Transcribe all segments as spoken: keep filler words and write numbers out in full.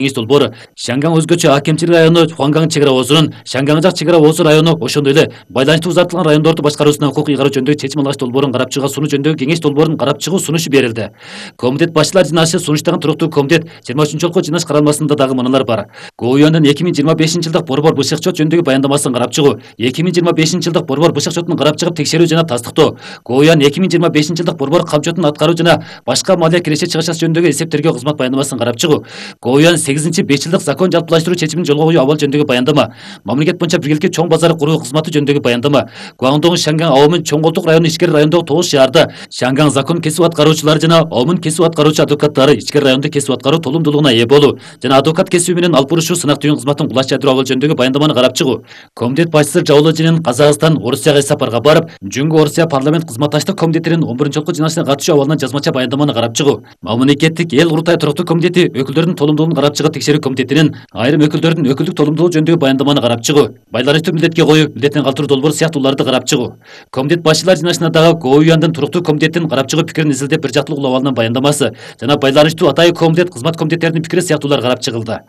кеңеш долбоору Шанган өзгөчө акимчилик району Хуанган чек ара оозунун Шанган жак чек ара оозу району ошондой эле байланыштуу узартылган райондорду башкаруусуна укук ыйгаруу жөнүндөгү чечим алгыч долбоорун карап чыгуу сунуш жөнүндөгү кеңеш долбоорун карап чыгуу сунушу берилди. Комитет башчылар жыйнашы сунуштагы туруктуу комитет жыйырма үчүнчү жолку жыйналыш каралмасында дагы мыналар бар. ГОУЯндын эки миң жыйырма бешинчи жылдык борбор бышык чот жөнүндөгү баяндамасын карап чыгуу, эки миң жыйырма бешинчи жылдык борбор бышык чотун карап чыгып текшерүү жана тастыктоо, ГОУЯн эки миң жыйырма бешинчи жылдык борбор камчотун аткаруу жана башка малия киреше чыгышасы жөнүндөгү эсептөргө кызмат баяндамасын карап чыгуу, ГОУЯн сегизинчи беш жылдык закон жалпылаштыруу чечимин жолго коюу абал жөнүндөгү баяндама, мамлекет боюнча биргеликти чоң базар куруу кызматы жөнүндөгү баяндама, Гуандong Шанган Аомун чоң колтук району ичкери райондогу тогуз шаарда Шанган закон кесип аткаруучулары жана Аомун кесип аткаруучу адвокаттары ичкери райондо кесип аткаруу толумдуулугуна ээ болуу жана адвокат кесиби менен алып бурушуу сынак түйүн кызматын кулаш жайдыруу абал жөнүндөгү баяндаманы карап чыгуу. Комитет башчысы Жауложинин Казакстан, Орусияга сапарга барып, Жөнгө Орусия парламент кызматташтык комитетинин он биринчи жолку жыйналышына катышуу абалынан жазмача баяндаманы карап чыгуу. Мамлекеттик эл курултай туруктуу комитети өкүлдөрдүн толумдуулугун карап чыгып текшерүү комитетинин айрым өкүлдөрдүн өкүлдүк толумдуулугу жөнүндөгү баяндаманы карап чыгуу. Байланыштуу милдетке коюу, милдеттен калтыруу долбоору сыяктууларды карап чыгуу. Комитет башчылар жыйналышына дагы ГОУЯндын туруктуу комитетин карап чыгуу пикирин изилдеп бир жактылык улап алынын баяндамасы жана байланыштуу атайын комитет кызмат комитеттеринин пикири сыяктуулар карап чыгылды.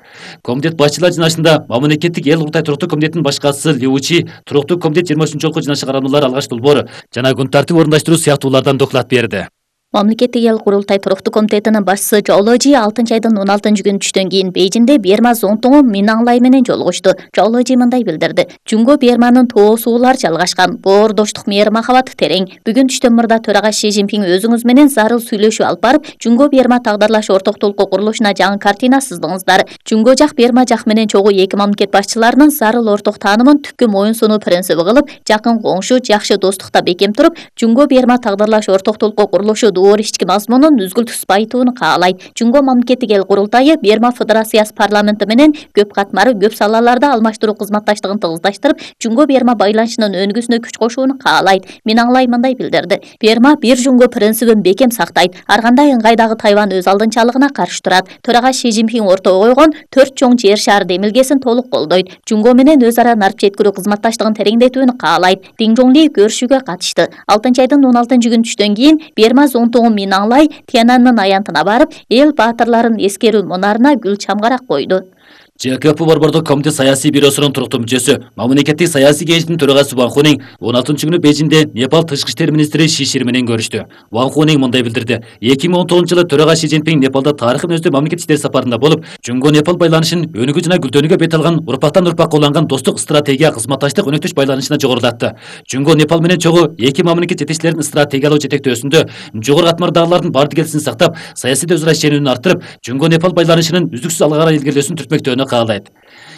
Комитет башчылар жыйналышында мамлекеттик эл курултай туруктуу комитетинин баш катчысы Лиучи туруктуу комитет жыйырма үчүнчү жолку жыйналышы каралмалары алгач долбоору жана күн тартип орундаштыруу сыяктуулардан доклад берди. Мамлекеттик эл курултай туруктуу комитетинин башчысы Жауложи алтынчы айдын он алтынчы күнү түштөн кийин Бейжиңде Берма зонтугу Минанлай менен жолугушту. Жауложи мындай билдирди: Жөнгө Берманын тоо суулар жалгашкан, боордоштук мээри махабат терең. Бүгүн түштөн мурда төрага Ши Цзиньпин өзүңүз менен зарыл сүйлөшүү алып барып, Жөнгө Берма тагдырлаш ортоктулукку курулушуна жаңы картина сыздыңыздар. Жөнгө жак Берма жак менен чогуу эки мамлекет башчыларынын зарыл орток таанымын түпкү моюн сунуу принциби кылып, жакын коңшу, жакшы достукта бекем туруп, Жөнгө Берма тагдырлаш ортоктулукку курулушу оор ички мазмунун үзгүлтүксүз байытууну каалайт. Жөнгө мамлекеттик эл курултайы Берма Федерациясы парламенти менен көп катмары көп салаларда алмаштыруу кызматташтыгын тыгыздаштырып, Жөнгө Берма байланышынын өнүгүүсүнө күч кошууну каалайт. Минанлай мындай билдирди: Берма бир Жөнгө принцибин бекем сактайт. Ар кандай ыңгайдагы Тайвань өз алдынчалыгына каршы турат. Төрага Ши Цзиньпин ортого койгон төрт чоң жер шаар демилгесин толук колдойт. Жөнгө менен өз ара нарып жеткирүү кызматташтыгын тереңдетүүнү каалайт. Дин Жоңли көрүшүүгө катышты. алтынчы айдын он алтынчы күнү түштөн кийин Берма зонтугу Минанлай Тяньаньмэнь аянтына барып, эл баатырларын эскерүү мунарына гүл чамгарак койду. ЖКП борбордук комитет саясий бюросунун туруктуу мүчөсү, мамлекеттик саясий кеңештин төрагасы Ван Хунин он алтынчы күнү Бейжиңде Непал тышкы иштер министри Ши Шир менен көрүштү. Ван Хунин мындай билдирди: эки миң он тогузунчу жылы төрага Ши Цзиньпин Непалда тарыхый мүнөздүү мамлекет иштер сапарында болуп, Жөнгө Непал байланышын өнүгүү жана гүлдөнүүгө бет алган урпактан урпакка уланган достук стратегия кызматташтык өнөктүш байланышына жогорулатты. Жөнгө Непал менен чогуу эки мамлекет жетекчилеринин стратегиялык жетектөөсүндө жогору катмардагылардын бардык келисин сактап, саясий өзара ишенүүнү арттырып, Жөнгө Непал байланышынын үздүксүз алга карай илгерилүүсүн түртмөктөөнү каалайт.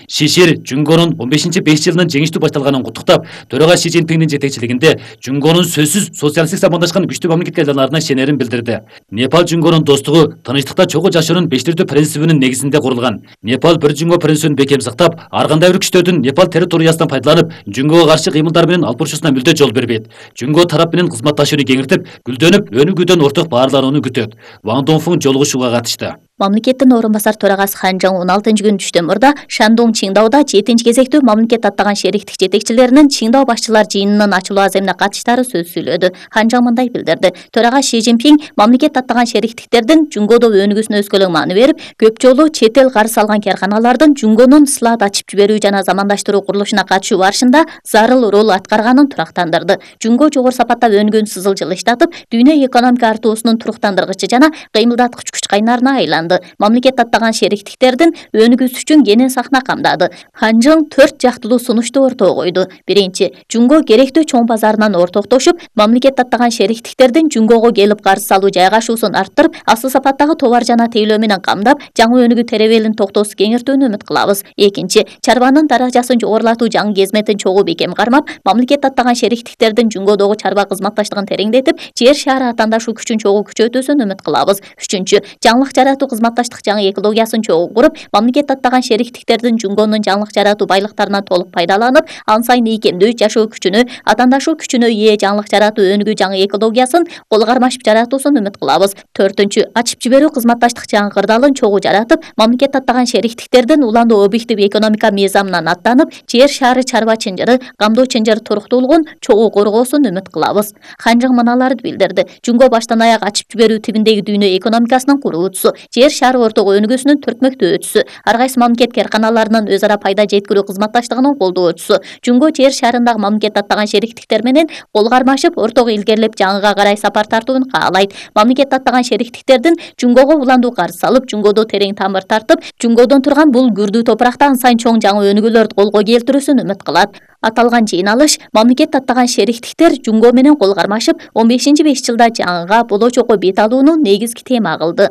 Ши Шир Жөнгөнүн он бешинчи беш жылынын жеңиштүү башталганын куттуктап, төрага Ши Цзиньпиндин жетекчилигинде Жөнгөнүн сөзсүз социалисттик замандашкан күчтүү мамлекетке айланарына ишенерин билдирди. Непал Жөнгөнүн достугу тынычтыкта чогуу жашоонун бештирдүү принцибинин негизинде курулган. Непал бир Жөнгө принцибин бекем сактап, ар кандай бир күчтөрдүн Непал территориясынан пайдаланып, Жөнгөгө каршы кыймылдар менен алып бурушусуна мүлдө жол бербейт. Жөнгө тарап менен кызматташууну кеңиртип, гүлдөнүп, өнүгүүдөн орток баарланууну күтөт. Ван Донфун жолугушууга катышты. Мамлекеттин орун басар төрагасы Хан Жаң он алтынчы күнү түштөн мурда Шандong Чиңдауда жетинчи кезектүү мамлекет аттаган шериктик жетекчилеринин Чиңдау башчылар жыйынынын ачылуу аземине катыштары сөз сүйлөдү. Хан Жаң мындай билдирди: Төрага Ши Цзиньпин мамлекет аттаган шериктиктердин Жөнгөдө өнүгүүсүнө өскөлөң мааны берип, көп жолу чет эл карыз алган карканалардын Жөнгөнүн слад ачып жиберүү жана замандаштыруу курулушуна катышуу барышында зарыл роль аткарганын турактандырды. Жөнгө жогору сапатта өнүгүүнү сызыл жылыштатып, дүйнө экономика артуусунун туруктандыргычы жана кыймылдаткыч күч кайнарына айланды. Мамлекет аттаган шериктиктердин өнүгүүсү үчүн кенен сахна камдады. Хан Жаң төрт жактылуу сунушту ортого койду. Биринчи, Жөнгө керектүү чоң базарынан ортоктошуп, мамлекет аттаган шериктиктердин Жөнгөгө келип карыз салуу жайгашуусун арттырып, асыл сапаттагы товар жана тейлөө менен камдап, жаңы өнүгүү теребелин токтоосуз кеңиртүүнү үмүт кылабыз. Экинчи, чарбанын даражасын жогорулатуу жаңы кезметин чогуу бекем кармап, мамлекет аттаган шериктиктердин Жөнгөдөгү чарба кызматташтыгын тереңдетип, жер шаары атаандашуу күчүн чогуу күчөтүүсүн үмүт кылабыз. Үчүнчү, жаңылык жаратуу кызматташтык жаңы экологиясын чогуу куруп, мамлекет аттаган шериктиктердин Жөнгөнүн жаңылык жаратуу байлыктарынан толук пайдаланып, ан сайын ийкемдүү жашоо күчүнө, атаандашуу күчүнө ээ жаңылык жаратуу өнүгүү жаңы экологиясын кол кармашып жаратуусун үмүт кылабыз. Төртүнчү, ачып жиберүү кызматташтык жаңы кырдаалын чогуу жаратып, мамлекет аттаган шериктиктердин уландуу объектив экономика мыйзамынан аттанып, жер шаары чарба чынжыры, камдоо чынжыр туруктуулугун чогуу коргоосун үмүт кылабыз. Хан Жаң мыналарды билдирди: Жөнгө баштан аяк ачып жиберүү тибиндеги дүйнө экономикасынын куруучусу, жер шары ортогу өнүгүүсүнүн төртмөктөөчүсү, ар кайсы мамлекет кээрканаларынын өз ара пайда жеткирүү кызматташтыгынын колдоочусу. Жумго жер шарындагы мамлекет аттаган шериктиктер менен кол кармашып, ортого илгерилеп жаңыга карай сапар тартууну каалайт. Мамлекет аттаган шериктиктердин Жумгого уландуу карыз салып, Жумгодо терең тамыр тартып, Жумгодон турган бул күрдүү топуракта ансайын чоң жаңы өнүгүүлөрдү колго келтирүүсүн үмүт кылат. Аталган жыйналыш мамлекет аттаган шериктиктер Жумго менен кол кармашып, он бешинчи беш жылда жаңыга болочокко бет алууну негизги тема кылды.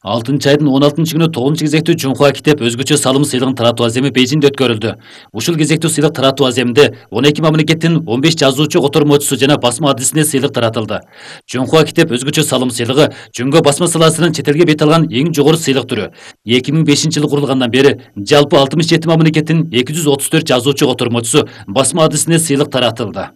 алтынчы айдын он алтынчы күнү тогузунчу кезектүү Чуңхуа китеп өзгөчө салым сыйлыгын таратуу аземи Бейжиңде өткөрүлдү. Ушул кезектүү сыйлык таратуу аземинде он эки мамлекеттин он беш жазуучу котормочусу жана басма адисине сыйлык таратылды. Чуңхуа китеп өзгөчө салым сыйлыгы Жумго басма саласынын чет элге бет алган эң жогору сыйлык түрү. эки миң бешинчи жылы курулгандан бери жалпы алтымыш жети мамлекеттин эки жүз отуз төрт жазуучу котормочусу басма адисине сыйлык таратылды.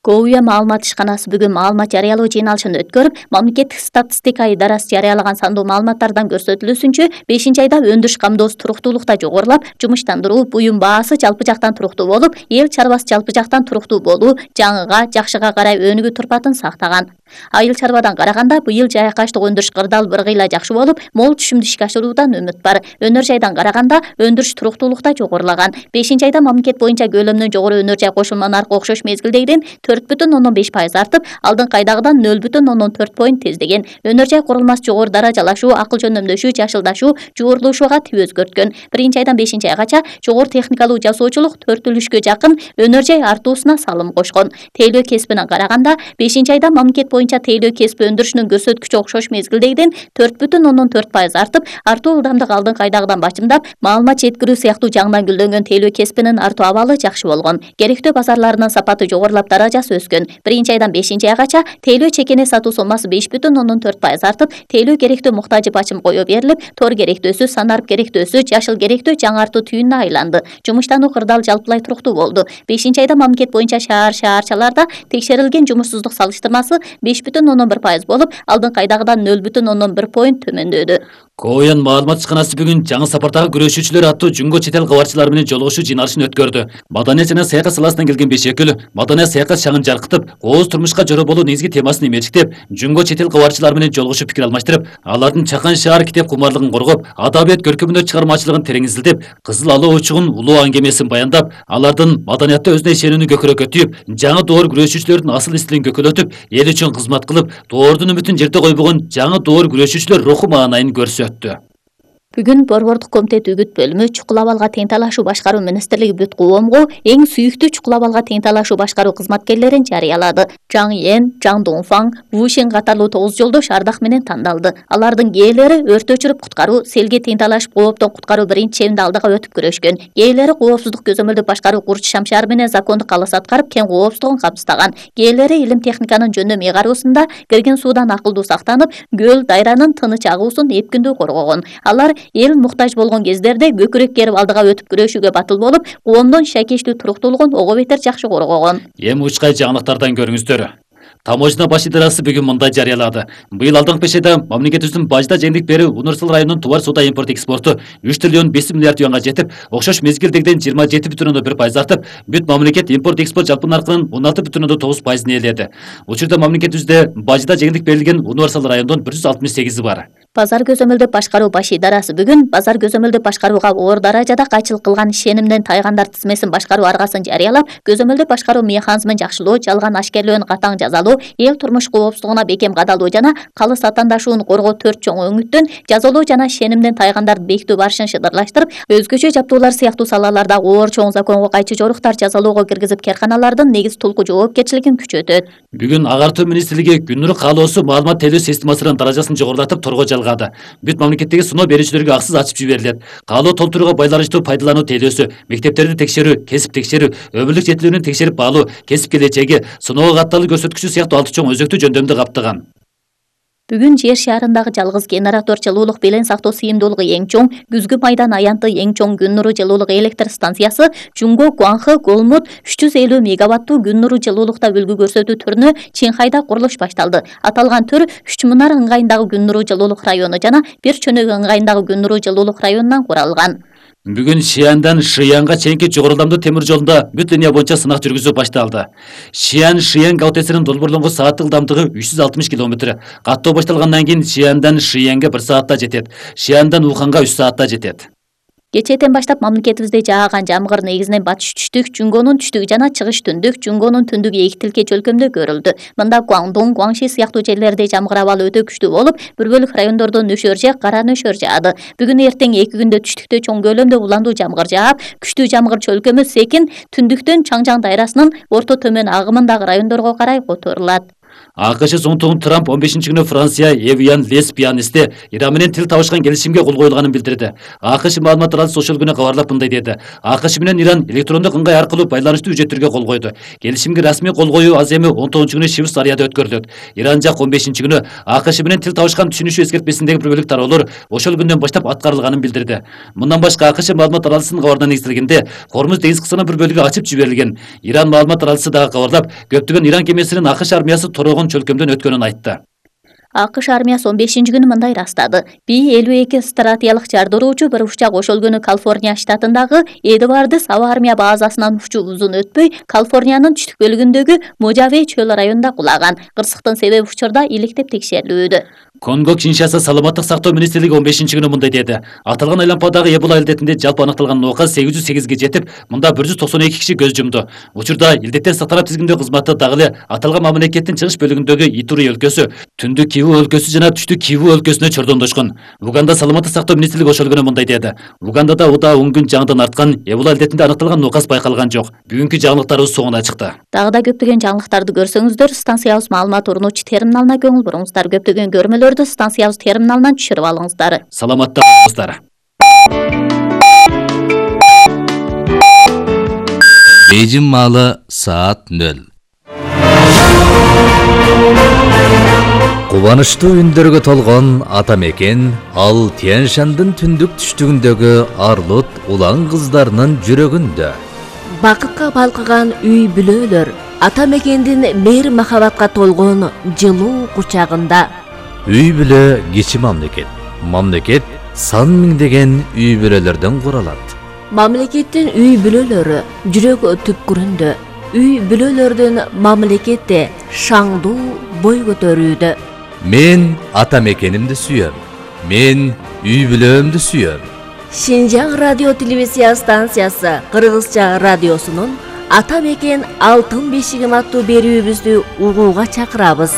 Коуя маалымат ишканасы бүгүн маалымат жарыялоо жыйналышын өткөрүп, мамлекеттик статистика идарасы жарыялаган сандуу маалыматтардан көрсөтүлүүсүнчө бешинчи айда өндүрүш камдоосу туруктуулукта жогорулап, жумуштандыруу, буюм баасы жалпы жактан туруктуу болуп, эл чарбасы жалпы жактан туруктуу болуу, жаңыга, жакшыга карай өнүгүү турпатын сактаган. Айыл чарбадан караганда быйыл жайакаштык өндүрүш кырдаал бір кыйла жакшы болуп, мол түшүмдү ишке ашыруудан үмүт бар. Өнөр жайдан караганда өндүрүш туруктуулукта жогорулаган. бешинчи айда мамлекет боюнча көлөмүнөн жогору өнөр жай кошулма наркы окшош мезгилдегиден төрт бүтүн ондон беш пайыз артып, алдыңкы айдагыдан нөл бүтүн ондон төрт поинт тездеген. Өнөр жай курулмасы жогору даражалашуу, акыл жөндөмдөшүү, жашылдашуу, жуурулушууга тип өзгөрткөн. биринчи айдан бешинчи айгача жогору техникалуу жасоочулук төрт үлүшкө жакын өнөр жай артуусуна салым кошкон. Тейлөө кесибинен караганда бешинчи айда мамлекет боюнча тейлөө кесип өндүрүшүнүн көрсөткүчү окшош мезгилдегиден төрт бүтүн ондон төрт пайыз артып, артуу ылдамдык алдыңкы айдагыдан бачымдап, маалымат жеткирүү сыяктуу жагынан гүлдөнгөн тейлөө кесибинин артуу абалы жакшы болгон. Керектөө базарларынын сапаты жогорулап, даражасы өскөн. биринчи айдан бешинчи айгача тейлөө чекене сатуу соммасы беш бүтүн ондон төрт пайыз артып, тейлөө керектөө муктажы бачым кое берилип, тор керектөөсү, санарып керектөөсү, жашыл керектөө жаңартуу түйүнүнө айланды. Жумуштануу кырдаал жалпылай туруктуу болду. бешинчи айда мамлекет боюнча шаар шаарчаларда текшерилген жумушсуздук салыштырмасы беш бүтүн ондон бир пайыз болуп, алдыңкы айдагыдан нөл бүтүн ондон бир поинт төмөндөдү. Коуян маалымат ишканасы бүгүн жаңы сапардагы күрөшүүчүлөр аттуу Жумго чет эл кабарчылары менен жолугушуу жыйналышын өткөрдү. Маданият жана саякат саласынан келген беш өкүл маданият саякат шаңын жаркытып, кооз турмушка жоро болуу негизги темасын эмечиктеп, Жумго чет эл кабарчылары менен жолугушуп пикир алмаштырып, алардын чакан шаар китеп кумарлыгын коргоп, адабият көркөмдөө чыгармачылыгын терең изилдеп, Кызыл алуу учугун улуу аңгемесин баяндап, алардын маданиятта өзүнө ишенүүнү көкүрөккө түйүп, жаңы доор күрөшүүчүлөрдүн асыл истилин көкөлөтүп, эл үчүн кызмат кылып, доордун үмүтүн жерде койбогон жаңы доор күрөшүүчүлөр руху маанайын көрсөттү. Бүгүн Борбордук комитет үгүт бөлүмү чукул абалга тең талашуу башкаруу министрлиги бүт коомго эң сүйүктүү чукул абалга тең талашуу башкаруу кызматкерлерин жарыялады. Жаң Йен, Жаң Доңфаң, Ву Шин катарлуу тогуз жолдош ардак менен тандалды. Алардын кээелери өрт өчүрүп куткаруу, селге тең талашып кооптон куткаруу биринчи чебинде алдыга өтүп күрөшкөн. Кээелери коопсуздук көзөмөлдү башкаруу курч шамшары менен закондук калыс аткарып, кен коопсуздугун камсыздаган. Кээелери илим техниканын жөндөм ыйгаруусунда кирген суудан акылдуу сактанып, көл дайранын тыныч агуусун эпкиндүү коргогон. Алар эл муктаж болгон кездерде көкүрөк керип алдыга өтүп күрөшүүгө батыл болуп, коомдун шайкештүү туруктуулугун ого бетер жакшы коргогон. Эми учкай жаңылыктардан көрүңүздөр. Таможня баш идарасы бүгүн мындай жарыялады. Быйыл алдыңкы беш айда мамлекетибиздин Бажда жеңдик бери Универсал районунун товар соода импорт экспорту үч триллион беш миллиард юанга жетип, окшош мезгилдегиден жыйырма жети бүтүн ондон бир пайыз артып, бүт мамлекет импорт экспорт жалпы наркынын он алты бүтүн ондон тогуз пайызын ээледи. Учурда мамлекетибизде Бажда жеңдик берилген Универсал райондон бир жүз алтымыш сегизи бар. Базар көзөмөлдөп башкаруу баш идарасы бүгүн базар көзөмөлдөп башкарууга оор даражада кайчылык кылган ишенимден тайгандар тизмесин башкаруу аргасын жарыялап, көзөмөлдөп башкаруу механизмин жакшылоо, жалган ашкерлөөнү катаң жазалоо, эл турмуш коопсуздугуна бекем кадалуу жана калыс атаандашууну коргоо төрт чоң өңүттөн жазалоо жана ишенимден тайгандарды бекитүү барышын шыдырлаштырып, өзгөчө жаптуулар сыяктуу салаларда оор чоң законго кайчы жоруктар жазалоого киргизип, керканалардын негиз тулку жоопкерчилигин күчөтөт. Бүгүн Агартуу министрлиги Күннүр каалоосу маалымат тейлөө системасынын даражасын жогорулатып торго жалгады. Бүт мамлекеттеги сыноо берүүчүлөргө аксыз ачып жиберилет. Каалоо толтурууга байланыштуу пайдалануу тейлөөсү, мектептерди текшерүү, кесип текшерүү, өмүрлүк жетилүүнүн текшерип баалуу, кесип келечеги, сыноого катталуу көрсөткүчү сыяктуу алты чоң өзөктүү жөндөмдү каптаган. Бүгүн жер шаарындагы жалгыз генератор жылуулук белең сактоо сыйымдуулугу эң чоң, күзгү майдан аянты эң чоң күн нуру жылуулук электр станциясы Жумго Гуанхэ Голмут үч жүз элүү мегаваттуу күн нуру жылуулукта үлгү көрсөтүү түрүнө Чинхайда курулуш башталды. Аталган түр Үч Мунар ыңгайындагы күн нуру жылуулук району жана Бир Чөнөк ыңгайындагы күн нуру жылуулук районунан куралган. Бүгүн Шияндан Шиянга чейинки жогору ылдамдуу темир жолунда бүт линия боюнча сынак жүргүзүү башталды. Шиян Шиян гаутесинин долбоорлонгон сааттык ылдамдыгы үч жүз алтымыш километр. Каттоо башталгандан кийин Шияндан Шиянга бир саатта жетет. Шияндан Уханга үч саатта жетет. Кечээден баштап мамлекетибизде жааган жамгыр негизинен батыш түштүк, Жүнгөнүн түштүгү жана чыгыш түндүк, Жүнгөнүн түндүгү эки тилкеч өлкөмдө көрүлдү. Мында Гуандун, Гуаңши сыяктуу жерлерде жамгыр абалы өтө күчтүү болуп, бир бөлүк райондордо нөшөр же кара нөшөр жаады. Бүгүн эртең эки күндө түштүктө чоң көлөмдө уландуу жамгыр жаап, күчтүү жамгыр чөлкөмү секин түндүктөн Чаңжаң дайрасынын орто төмөн агымындагы райондорго карай которулат. АКШ Зонтогун Трамп он бешинчи күнү Франция Эвиан Леспианисте Иран менен тил табышкан келишимге кол коюлганын билдирди. АКШ маалымат аралсы ошол күнү кабарлап мындай деди. АКШ менен Иран электрондук ыңгай аркылуу байланыштуу үжөттөргө кол койду. Келишимге расмий кол коюу аз эми он тогузунчу күнү Швейцарияда өткөрүлөт. Иран жак он бешинчи күнү АКШ менен тил табышкан түшүнүшү эскертпесиндеги бир бөлүк тароолор ошол күндөн баштап аткарылганын билдирди. Мындан башка АКШ маалымат аралсынын кабарына негизделгенде Хормуз деңиз кысынын бир бөлүгү ачып жиберилген. Иран маалымат аралсы дагы кабарлап, көптөгөн Иран кемесинин АКШ армиясы торогон чөлкөмдөн өткөнүн айтты. АКШ армиясы он бешинчи күнү мындай ырастады. Би элүү эки стратегиялык жардыруучу бир учак ошол күнү Калифорния штатындагы Эдвардс аба армия базасынан учуп узун өтпөй Калифорниянын түштүк бөлүгүндөгү Можаве чөл районунда кулаган. Кырсыктын себеби учурда иликтеп текшерилүүдө. Конго Киншаса саламаттык сактоо министрлиги он бешинчи күнү мындай деди. Аталган айлампадагы Эбола илдетинде жалпы аныкталган оокат сегиз жүз сегизге жетип, мында бир жүз токсон эки киши көз жумду. Учурда илдеттер сактанат тизгиндөө кызматы дагы эле аталган мамлекеттин чыгыш бөлүгүндөгү Итури өлкөсү, түндүк Киву өлкөсү жана түштүк Киву өлкөсүнө чордондошкон. Уганда саламаттык сактоо министрлиги ошол күнү мындай деди. Угандада удаа он күн жаңыдан арткан Эбола илдетинде аныкталган оокат байкалган жок. Бүгүнкү жаңылыктарыбыз соңуна чыкты. Дагы да көптөгөн жаңылыктарды көрсөңүздөр, станциябыз маалымат урнучу терминалына көңүл буруңуздар. Көптөгөн көрмөлөрдү станциябыз терминалынан түшүрүп алыңыздар. Саламатта болуңуздар. Бейжин маалы саат нөл. Кубанычтуу үндөргө толгон ата мекен ал Тянь-Шандын түндүк түштүгүндөгү Арлут улан кыздарынын жүрөгүндө. Бакытка балкыган үй бүлөлөр ата мекендин мейир махабатка толгон жылуу кучагында. Үй бүлө кичи мамлекет. Мамлекет сан миңдеген үй бүлөлөрдөн куралат. Мамлекеттин үй бүлөлөрү жүрөк түпкүрүндө. Үй бүлөлөрдүн мамлекетте шаңдуу бой көтөрүүдө. Мен ата мекенимди сүйөм. Мен үй бүлөмдү сүйөм. Шинжаң радио телевизия станциясы Кыргызча радиосунун Ата мекен алтын бешигим аттуу берүүбүздү угууга чакырабыз.